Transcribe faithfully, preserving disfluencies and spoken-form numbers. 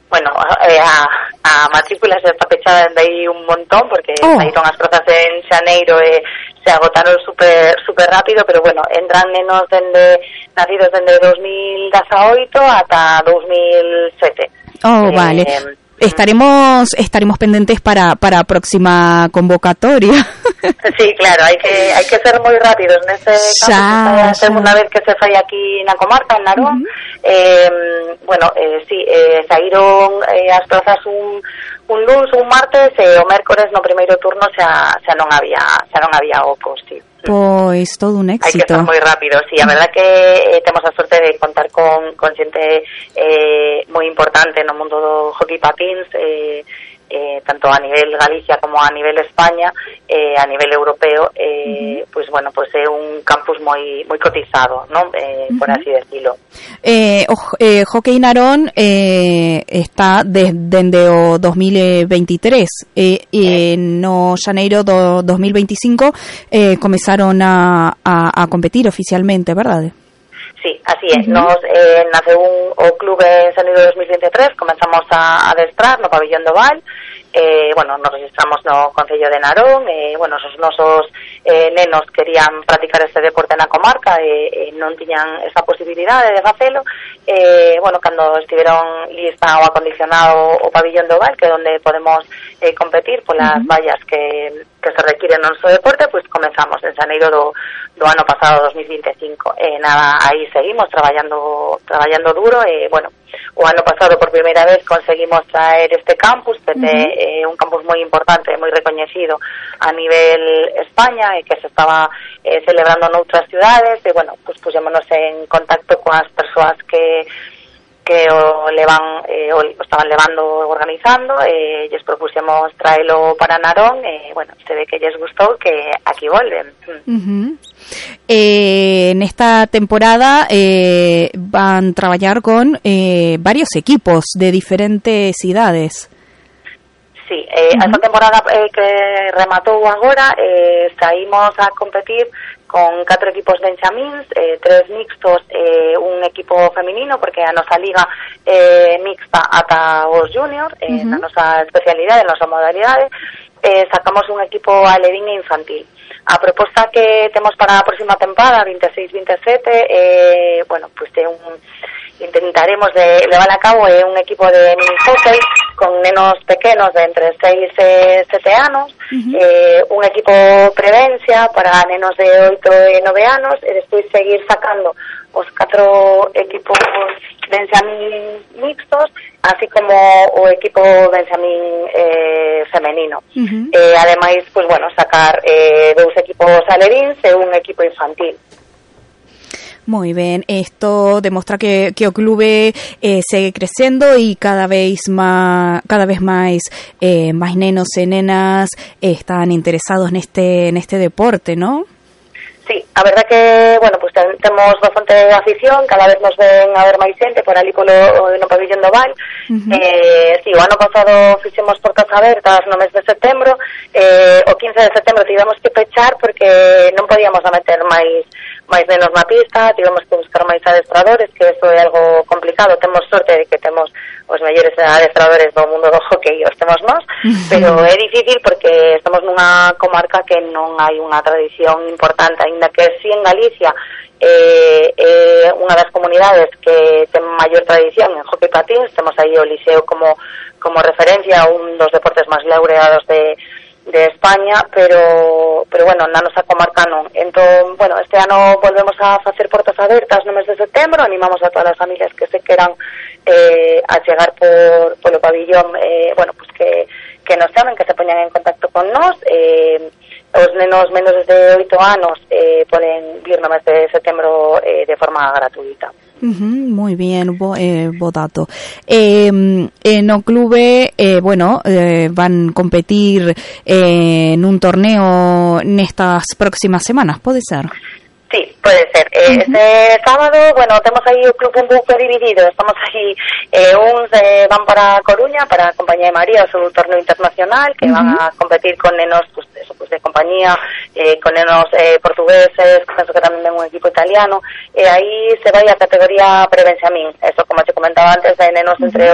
Bueno, eh, a, a matrícula se está pechada de aí un montón porque oh. saíron as prazas en xaneiro e se agotaron super super rápido, pero bueno, entran nenos dende nacidos dende dos mil dezaoito ata dos mil sete. Oh, eh, vale. Estaremos estaremos pendentes para para a próxima convocatoria. Sí, claro, hai que hai que ser moi rápidos neste caso. É a segunda vez que se fai aquí na comarca, en Narón. Uh-huh. Eh, bueno, eh, sí, eh, saíron eh, as plazas un un luns, un martes e o mércores no primeiro turno xa xa non había xa non había ocos, sí. Pois todo un éxito. Hai que ser moi rápido, sí, a verdad que eh, temos a sorte de contar con, con xente eh, moi importante no mundo do hockey patins, eh, eh, tanto a nivel Galicia como a nivel España, eh, a nivel europeo, eh, uh-huh. pues bueno, pues é un campus moi moi cotizado, ¿no? Eh, uh-huh. Por así decirlo. Eh, o, eh, Hockey Narón eh, está desde o dos mil veintitrés eh, e eh. no xaneiro do dos mil veinticinco eh, comezaron a, a, a competir oficialmente, verdade? Sí, así é. Uh-huh. Nos eh, nace un o clube en xaneiro de dos mil veintitrés, comenzamos a adestrar no pabillón do Val. Eh, bueno, nos registramos no Concello de Narón, eh, bueno, os nosos eh, nenos querían practicar este deporte na comarca e eh, eh, non tiñan esa posibilidade de facelo. Eh, bueno, cando estiveron lista o acondicionado o pabillón do Val, que é onde podemos eh, competir polas uh-huh. vallas que, que se requiren no noso deporte, pois pues comenzamos en xaneiro do, do ano pasado, dos mil veinticinco. Eh, nada, aí seguimos traballando traballando duro e, bueno, o ano pasado por primeira vez conseguimos traer este campus, que é uh-huh. eh, un campus moi importante, moi recoñecido a nivel España e que se estaba eh, celebrando noutras ciudades e, bueno, pues puxémonos en contacto coas persoas que que o levan eh, o estaban levando organizando e eh, lles propuxemos traelo para Narón e, bueno, se ve que lles gustou que aquí volven. Uh-huh. Eh, en esta temporada eh, van a traballar con eh, varios equipos de diferentes idades. Sí, eh, uh-huh. esta temporada eh, que rematou agora eh, saímos a competir con catro equipos de benxamíns, eh, tres mixtos e eh, un equipo feminino, porque a nosa liga eh, mixta ata os juniors, eh, uh-huh. na nosa especialidade, na nosa modalidade, eh, sacamos un equipo alevín e infantil. A proposta que temos para a próxima temporada, veintiséis veintisiete, eh, bueno, pues é un intentaremos de levar a cabo é un equipo de mini hockey con nenos pequenos de entre seis e sete anos, uh-huh. eh, un equipo prevencia para nenos de oito e nove anos e despois seguir sacando os catro equipos benxamín mixtos, así como o equipo benxamín eh, femenino. Uh-huh. Eh, ademais, pues bueno, sacar eh, dous equipos alevíns e un equipo infantil. Moi ben, isto demostra que, que o clube eh, segue crecendo e cada vez má, cada vez máis eh, máis nenos e nenas eh, están interesados neste neste deporte, ¿no? Sí, a verdad que, bueno, pues ten, temos bastante afición, cada vez nos ven a ver máis xente por ali polo no pabillón do Val. Uh-huh. Eh, sí, o ano pasado fixemos portas abertas no mes de setembro, eh, o quince de setembro tivemos que pechar porque non podíamos meter máis máis nenos na pista, tivemos que buscar máis adestradores, que eso é algo complicado. Temos sorte de que temos os mellores adestradores do mundo do hockey, os temos nós, uh-huh. pero é difícil porque estamos nunha comarca que non hai unha tradición importante, aínda que si en Galicia é eh, eh, unha das comunidades que ten maior tradición en hockey patins, temos aí o Liceo como como referencia, un dos deportes máis laureados de de España, pero pero bueno, na nosa comarca non. Entón, bueno, este ano volvemos a facer portas abertas no mes de setembro, animamos a todas as familias que se queran eh, a chegar por polo pabillón, eh, bueno, pues que que nos chamen, que se poñan en contacto con nós. Eh, os nenos menores de oito anos eh, poden vir no mes de setembro eh, de forma gratuita. Uh-huh, moi bien, bo, eh, bo dato. Eh, eh, no clube, eh, bueno, eh, van competir eh, nun torneo nestas próximas semanas, pode ser? Sí, puede ser. Eh, uh-huh. Este sábado, bueno, temos aí o club un pouco dividido. Estamos aí, eh, uns eh, van para Coruña, para a Compañía de María, o seu torneo internacional, que uh-huh. van a competir con nenos, pues, eso, pues, de compañía, eh, con nenos eh, portugueses, penso que tamén ven un equipo italiano, e aí se vai a categoría pre-benxamín. Eso, como te comentaba antes, de nenos uh-huh. entre